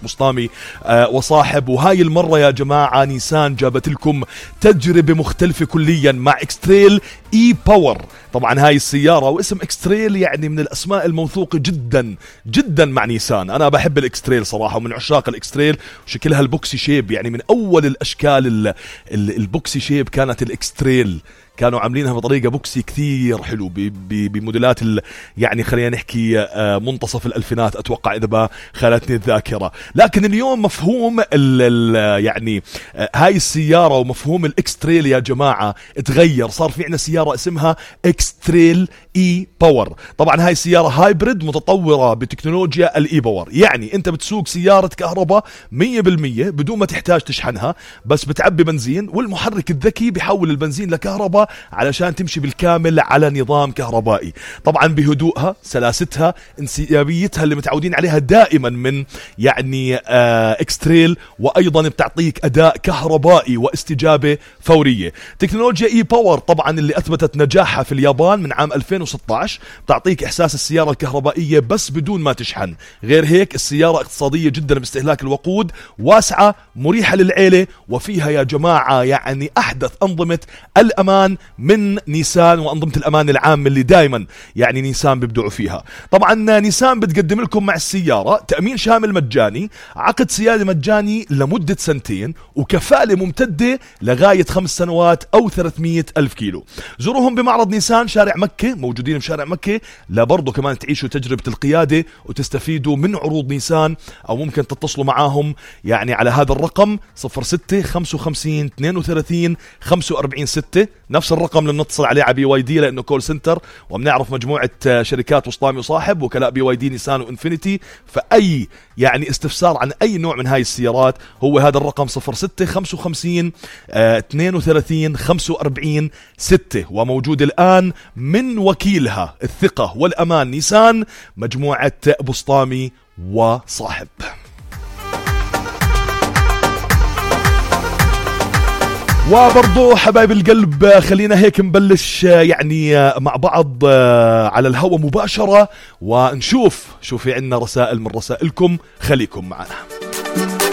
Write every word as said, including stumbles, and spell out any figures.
بسطامي آه وصاحب. وهاي المرة يا جماعة نيسان جابت لكم تجربة مختلفة كليا مع اكستريل اي باور. طبعا هاي السيارة واسم اكستريل يعني من الاسماء الموثوقة جدا جدا مع نيسان. انا بحب الاكستريل صراحة ومن عشاق الاكستريل، وشكلها البوكسي شيب يعني من اول الاشكال البوكسي شيب كانت الاكستريل، كانوا عاملينها بطريقة بوكسي كثير حلو بموديلات يعني خلينا نحكي منتصف الألفينات أتوقع إذا ما خانتني الذاكرة. لكن اليوم مفهوم ال ال يعني هاي السيارة ومفهوم الإكستريل يا جماعة اتغير، صار في عنا سيارة اسمها إكستريل إي باور. طبعا هاي السيارة هايبريد متطورة بتكنولوجيا الإي باور، يعني أنت بتسوق سيارة كهرباء مية بالمية بدون ما تحتاج تشحنها، بس بتعبي بنزين والمحرك الذكي بيحول البنزين لكهرباء علشان تمشي بالكامل على نظام كهربائي. طبعا بهدوءها، سلاستها، انسيابيتها اللي متعودين عليها دائما من يعني آه اكستريل، وايضا بتعطيك اداء كهربائي واستجابة فورية. تكنولوجيا اي باور طبعا اللي اثبتت نجاحها في اليابان من عام ألفين وستة عشر، بتعطيك احساس السيارة الكهربائية بس بدون ما تشحن. غير هيك السيارة اقتصادية جدا باستهلاك الوقود، واسعة، مريحة للعيلة، وفيها يا جماعة يعني احدث انظمة الامان من نيسان وأنظمة الأمان العام اللي دائما يعني نيسان بيبدعوا فيها. طبعا نيسان بتقدم لكم مع السيارة تأمين شامل مجاني، عقد سيادة مجاني لمدة سنتين، وكفالة ممتدة لغاية خمس سنوات أو ثلاثمية ألف كيلو. زوروهم بمعرض نيسان شارع مكة، موجودين بشارع مكة، لبرضو كمان تعيشوا تجربة القيادة وتستفيدوا من عروض نيسان. أو ممكن تتصلوا معاهم يعني على هذا الرقم صفر ستة خمسة وخمسين اثنين وثلاثين خمسة وأربعين ستة، نفس الرقم اللي بنتصل عليه على بي واي دي لانه كول سنتر، وبنعرف مجموعه شركات بسطامي وصاحب وكلاء بي واي دي نيسان وانفينيتي. فاي يعني استفسار عن اي نوع من هاي السيارات هو هذا الرقم صفر ستة خمسة وخمسين اثنين وثلاثين خمسة وأربعين ستة، وموجود الان من وكيلها الثقه والامان نيسان مجموعه بسطامي وصاحب. وبرضو حبايب القلب خلينا هيك نبلش يعني مع بعض على الهواء مباشرة ونشوف شو في عنا رسائل من رسائلكم، خليكم معنا.